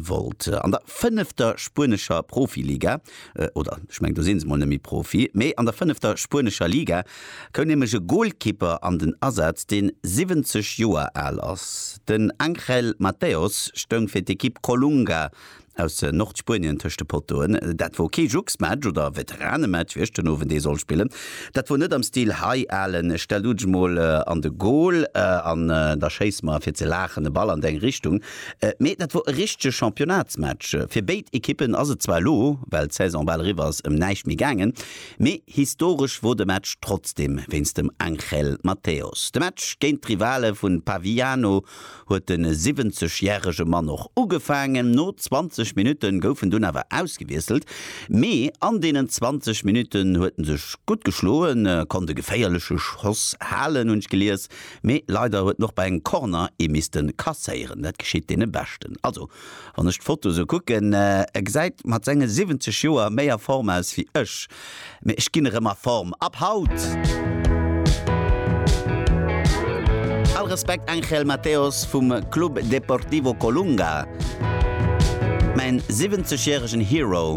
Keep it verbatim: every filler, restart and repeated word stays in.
wollt. An der fënnefter spuenescher Profiliga, oder ech mengen do si se mol net méi Profi, mee an der fënnefter spuenescher Liga koum nämlech e Golkipper an den Asaz, deen siwwenzeg Joer al ass. Den Angel Mateos stoung fir d'Ekipp Colunga aus Nordspuenien tëscht de Pottoen. Dat wor kee Juxmatch oder Veteranematch, wéi ech den Owend ee soll spillen. Dat wor net am Stil Hei Alen, stell du dech mol an de Gol an da schéiss mer fir ze laachen e Ball an deng Richtung. Mee dat wor e richtege Championnatsmatch. Fir béid Ekippen ass et zwar elo, well d'Saison bal eriwwer ass, ëm näischt méi gaangen, mee historesch wor de Match trotzdeem wéinst dem Angel Mateos. De Match géint d'Rivale vu Paviano huet de siwwenzeg järege Mann och ugefaangen. No zwanzeg Minutte gouf en dunn awer ausgewiesselt, mee an deenen zwanzeg Minutten huet en sech gutt geschloen, konnt e geféierleche Schoss halen, hunn ech gelies, mee leider huet en och bei engem Corner ee misste kasséieren. Dat geschitt deene Beschten. Also wann ech d'Foto sou kucken, e gesäit mat senge siwwenzeg Joer méi a Form aus wéi ech. Mee ech ginn erëm a Form ab haut! All Respekt Angel Mateos vum Club Deportivo Colunga, mäin siwwenzeg järegen Hero.